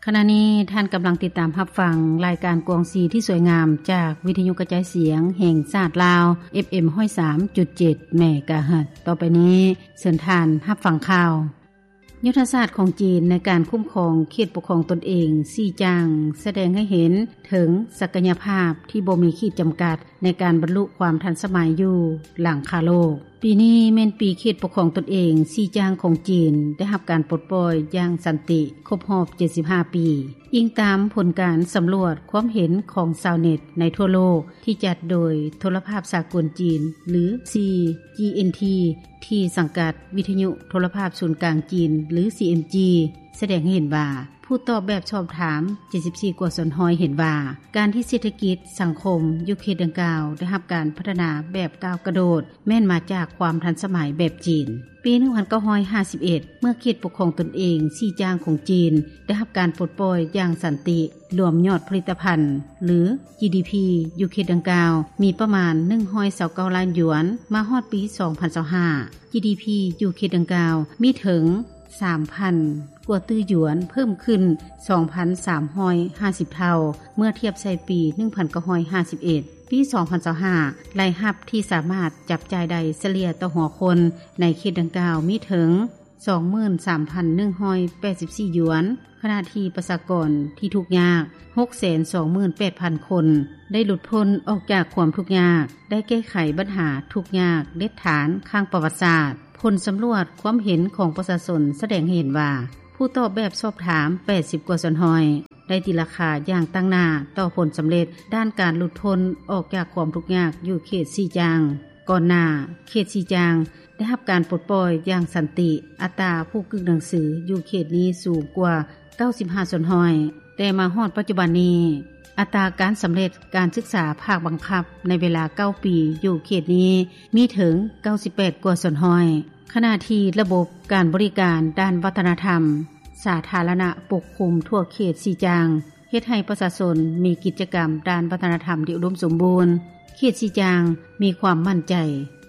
ຂະນະນີ້ທ່ານກຳລັງຕິດຕາມຮັບຟັງລາຍການກວາງຊີທີ່ສວຍງາມ ຈາກວິທະຍຸກະຈາຍສຽງແຫ່ງຊາດລາວ ເອັຟເອັມ ຮ້ອຍສາມຈຸດເຈັດ ເມກາເຮີດ. ຕໍ່ໄປນີ້ເຊີນທ່ານຮັບຟັງຂ່າວ. ຍຸດທະສາດຂອງຈີນໃນການຄຸ້ມຄອງເຂດປົກຄອງຕົນເອງຊີຈາງ ສະແດງໃຫ້ເຫັນເຖິງສັກກະຍະພາບທີ່ບໍ່ມີຂີດຈຳກັດໃນການບັນລຸຄວາມທັນສະໄໝຢູ່ຫຼັງຄາໂລກ. ປີນີ້ແມ່ນປີເຂດປົກຄອງຕົນເອງຊີຈາງຂອງຈີນໄດ້ຮັບການປົດປ່ອຍຢ່າງສັນຕິຄົບຮອບເຈັດສິບຫ້າປີ, ອີງຕາມຜົນການສຳຫຼວດຄວາມເຫັນຂອງຊາວເນັດໃນທົ່ວໂລກ ທີ່ຈັດໂດຍໂທລະພາບສາກົນຈີນ ຫຼື ຊີຈີເອັນທີ ທີ່ສັງກັດວິທະຍຸໂທລະພາບສູນກາງຈີນ ຫຼື ຊີເອັມຈີ ສະແດງໃຫ້ເຫັນວ່າ ຜູ້ຕອບແບບສອບຖາມເຈັດສິບສີ່ກວ່າສ່ວນຮ້ອຍເຫັນວ່າ ການທີ່ເສດຖະກິດສັງຄົມຢູ່ເຂດດັ່ງກ່າວໄດ້ຮັບການພັດທະນາແບບກ້າວກະໂດດ ແມ່ນມາຈາກຄວາມທັນສະໄໝແບບຈີນ. ປີໜຶ່ງພັນເກົ້າຮ້ອຍຫ້າສິບເອັດ ເມື່ອເຂດປົກຄອງຕົນເອງຊີຈາງຂອງຈີນໄດ້ຮັບການປົດປ່ອຍຢ່າງສັນຕິ, ລວມຍອດຜະລິດຕະພັນ ຫຼື ຈີດີພີ ຢູ່ເຂດດັ່ງກ່າວມີປະມານໜຶ່ງຮ້ອຍຊາວເກົ້າລ້ານຢວນ, ມາຮອດປີສອງພັນຊາວຫ້າ ຈີດີພີ ຢູ່ເຂດດັ່ງກ່າວມີເຖິງສາມພັນກວ່າຕື້ຢວນ, ເພີ່ມຂຶ້ນສອງພັນສາມຮ້ອຍຫ້າສິບເທົ່າ ເມື່ອທຽບໃສ່ປີໜຶ່ງພັນເກົ້າຮ້ອຍຫ້າສິບເອັດ. ປີສອງພັນຊາວຫ້າ ລາຍຮັບທີ່ສາມາດຈັບຈ່າຍໄດ້ສະເລ່ຍຕໍ່ຫົວຄົນໃນເຂດດັ່ງກ່າວມີເຖິງສອງໝື່ນສາມພັນໜຶ່ງຮ້ອຍແປດສິບສີ່ຢວນ, ຂະນະທີ່ປະຊາກອນທີ່ທຸກຍາກຫົກແສນສອງໝື່ນແປດພັນຄົນ ໄດ້ຫຼຸດພົ້ນອອກຈາກຄວາມທຸກຍາກ, ໄດ້ແກ້ໄຂບັນຫາທຸກຍາກເດັດຖານຄັ້ງປະຫວັດສາດ. ຜົນສຳຫຼວດຄວາມເຫັນຂອງປະຊາຊົນສະແດງໃຫ້ເຫັນວ່າ ຜູ້ຕອບແບບສອບຖາມແປດສິບກວ່າສ່ວນຮ້ອຍ ໄດ້ຕີລາຄາຢ່າງຕັ້ງໜ້າຕໍ່ຜົນສຳເລັດດ້ານການຫຼຸດພົ້ນອອກຈາກຄວາມທຸກຍາກຢູ່ເຂດຊີຈາງ. ກ່ອນໜ້າເຂດຊີຈາງໄດ້ຮັບການປົດປ່ອຍຢ່າງສັນຕິ, ອັດຕາຜູ້ກຶກໜັງສືຢູ່ເຂດນີ້ສູງກວ່າເກົ້າສິບຫ້າສ່ວນຮ້ອຍ, ແຕ່ມາຮອດປັດຈຸບັນນີ້ ອັດຕາການສຳເລັດການສຶກສາພາກບັງຄັບໃນເວລາເກົ້າປີຢູ່ເຂດນີ້ມີເຖິງເກົ້າສິບແປດກວ່າສ່ວນຮ້ອຍ. ຂະນະທີ່ລະບົບການບໍລິການດ້ານວັດທະນະທຳສາທາລະນະປົກຄຸມທົ່ວເຂດຊີຈາງ ເຮັດໃຫ້ປະຊາຊົນມີກິດຈະກຳດ້ານວັດທະນະທຳທີ່ອຸດົມສົມບູນ. ເຂດຊີຈາງມີຄວາມໝັ້ນໃຈ,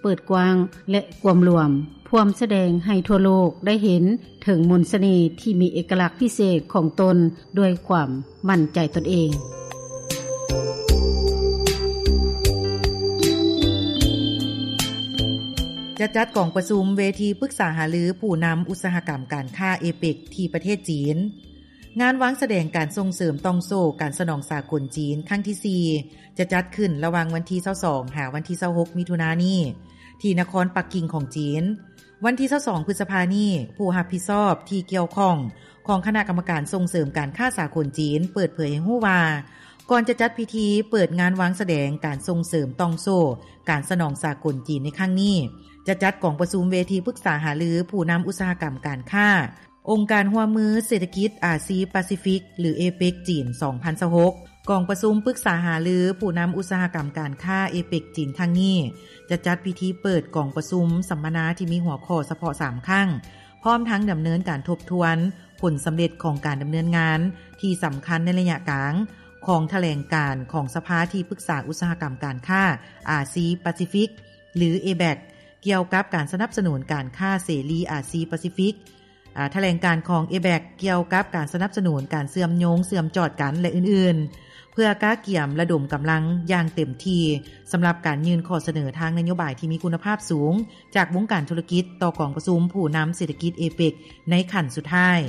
ເປີດກວ້າງ ແລະ ກວມລວມ, ພວມສະແດງໃຫ້ທົ່ວໂລກໄດ້ເຫັນເຖິງມົນສະເໜ່ທີ່ມີເອກະລັກພິເສດຂອງຕົນດ້ວຍຄວາມໝັ້ນໃຈຕົນເອງ. ຈະຈັດກອງປະຊຸມເວທີປຶກສາຫາລືຜູ້ນຳອຸດສາຫະກຳການຄ້າເອເປັກທີ່ປະເທດຈີນ. ງານວາງສະແດງການສົ່ງເສີມຕ່ອງໂສ້ການສະໜອງສາກົນຈີນຄັ້ງທີສີ່ ຈະຈັດຂຶ້ນລະຫວ່າງວັນທີຊາວສອງ ຫາວັນທີຊາວຫົກ ມິຖຸນານີ້ ທີ່ນະຄອນປັກກິ່ງຂອງຈີນ. ວັນທີຊາວສອງ ພຶດສະພານີ້ ຜູ້ຮັບຜິດຊອບທີ່ກ່ຽວຂ້ອງຂອງຄະນະກຳມະການສົ່ງເສີມການຄ້າສາກົນຈີນ ເປີດເຜີຍໃຫ້ຮູ້ວ່າ ກ່ອນຈະຈັດພິທີເປີດງານວາງສະແດງການສົ່ງເສີມຕ່ອງໂສ້ການສະໜອງສາກົນຈີນໃນຄັ້ງນີ້ ຈະຈັດກອງປະຊຸມເວທີປຶກສາຫາລືຜູ້ນຳອຸດສາຫະກຳການຄ້າ ອົງການຮ່ວມມືເສດຖະກິດອາຊີປາຊີຟິກ ຫຼື ເອເປັກ ຈີນ ສອງພັນຊາວຫົກ. ກອງປະຊຸມປຶກສາຫາລືຜູ້ນຳອຸດສາຫະກຳການຄ້າເອເປັກ ຈີນ ຄັ້ງນີ້ ຈະຈັດພິທີເປີດກອງປະຊຸມສຳມະນາທີ່ມີຫົວຂໍ້ສະເພາະສາມຄັ້ງ, ພ້ອມທັງດຳເນີນການທົບທວນຜົນສຳເລັດຂອງການດຳເນີນງານທີ່ສຳຄັນໃນໄລຍະກາງຂອງຖະແຫຼງການຂອງສະພາທີ່ປຶກສາອຸດສາຫະກຳການຄ້າອາຊີປາຊີຟິກ ຫຼື ເອເປັກ ກ່ຽວກັບການສະໜັບສະໜູນການຄ້າເສລີອາຊີປາຊີຟິກ. ອາ ຖະແຫຼງການຂອງ ເອເປັກ ກ່ຽວກັບການສະໜັບສະໜູນການເຊື່ອມໂຍງເຊື່ອມຈອດກັນ ແລະ ອື່ນໆ ເພື່ອກະກຽມລະດົມກຳລັງຢ່າງເຕັມທີ່ ສຳລັບການຍື່ນຂໍ້ສະເໜີທາງນະໂຍບາຍທີ່ມີຄຸນນະພາບສູງ ຈາກວົງການທຸລະກິດຕໍ່ກອງປະຊຸມຜູ້ນຳເສດຖະກິດເອເປັກ ໃນຂັ້ນສຸດທ້າຍ.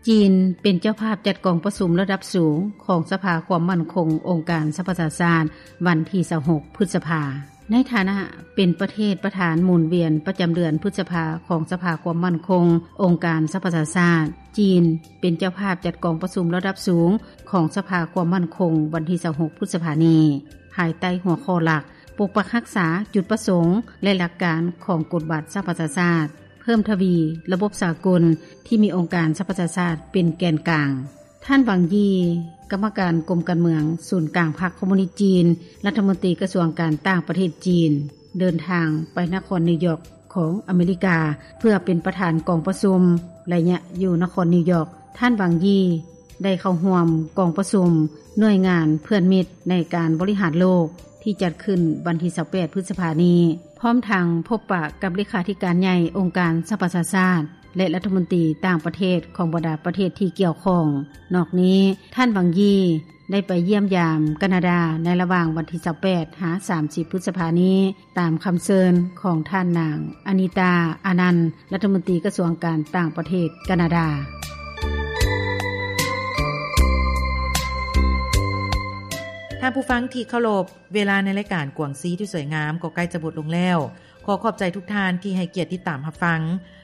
ຈີນເປັນເຈົ້າພາບຈັດກອງປະຊຸມລະດັບສູງຂອງສະພາຄວາມໝັ້ນຄົງອົງການສະຫະປະຊາຊາດ ວັນທີຊາວຫົກ ພຶດສະພາ. ໃນຖານະເປັນປະເທດປະທານໝູນວຽນປະຈຳເດືອນພຶດສະພາຂອງສະພາຄວາມໝັ້ນຄົງອົງການສະຫະປະຊາຊາດ, ຈີນເປັນເຈົ້າພາບຈັດກອງປະຊຸມລະດັບສູງຂອງສະພາຄວາມໝັ້ນຄົງວັນທີຊາວຫົກ ພຶດສະພານີ້ ພາຍໃຕ້ຫົວຂໍ້ຫຼັກ ປົກປັກຮັກສາຈຸດປະສົງ ແລະ ຫຼັກການຂອງກົດບັດສະຫະປະຊາຊາດ, ເພີ່ມທະວີລະບົບສາກົນທີ່ມີອົງການສະຫະປະຊາຊາດເປັນແກນກາງ. ທ່ານ ຫວັງ ຢີ ກຳມະການກົມການເມືອງສູນກາງພັກຄອມມູນິດຈີນ, ລັດຖະມົນຕີກະຊວງການຕ່າງປະເທດຈີນ ເດີນທາງໄປນະຄອນນິວຢອກຂອງອາເມລິກາ ເພື່ອເປັນປະທານກອງປະຊຸມ. ໄລຍະຢູ່ນະຄອນນິວຢອກ, ທ່ານ ຫວັງ ຢີ ໄດ້ເຂົ້າຮ່ວມກອງປະຊຸມໜ່ວຍງານເພື່ອນມິດໃນການບໍລິຫານໂລກ ທີ່ຈັດຂຶ້ນວັນທີຊາວແປດ ພຶດສະພານີ້, ພ້ອມທັງພົບປະກັບເລຂາທິການໃຫຍ່ອົງການສະຫະປະຊາຊາດ ແລະລັດຖະມົນຕີຕ່າງປະເທດຂອງບັນດາປະເທດທີ່ກ່ຽວຂ້ອງ. ນອກນີ້ ທ່ານ ວັງ ຢີ ໄດ້ໄປຢ້ຽມຢາມການາດາໃນລະຫວ່າງວັນທີຊາວແປດຫາສາມສິບພຶດສະພານີ້ ຕາມຄຳເຊີນຂອງທ່ານນາງ ອານິຕາ ອານັນ ລັດຖະມົນຕີກະຊວງການຕ່າງປະເທດການາດາ. ທ່ານຜູ້ຟັງທີ່ເຄົາລົບ, ເວລາໃນລາຍການກວາງຊີທີ່ສວຍງາມກໍໃກ້ຈະໝົດລົງແລ້ວ. ຂໍຂອບໃຈທຸກທ່ານທີ່ໃຫ້ກຽດຕິດຕາມຮັບຟັງ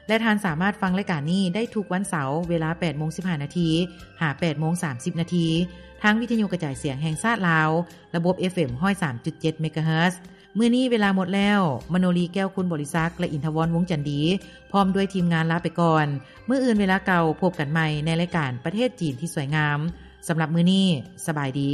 ແລະ ທ່ານສາມາດຟັງລາຍການນີ້ໄດ້ທຸກວັນເສົາ ເວລາແປດໂມງສິບຫ້ານາທີ ຫາແປດໂມງສາມສິບນາທີ ທາງວິທະຍຸກະຈາຍສຽງແຫ່ງຊາດລາວ ລະບົບ ເອຟເອັມ ຮ້ອຍສາມຈຸດເຈັດ ເມກາເຮີດ. ມື້ນີ້ເວລາໝົດແລ້ວ, ມະໂນລີ ແກ້ວຄຸນບໍລິສັກ ແລະ ອິນທະວອນ ວົງຈັນດີ ພ້ອມດ້ວຍທີມງານລາໄປກ່ອນ. ມື້ອື່ນເວລາເກົ່າ ພົບກັນໃໝ່ໃນລາຍການປະເທດຈີນທີ່ສວຍງາມ. ສຳລັບມື້ນີ້, ສະບາຍດີ.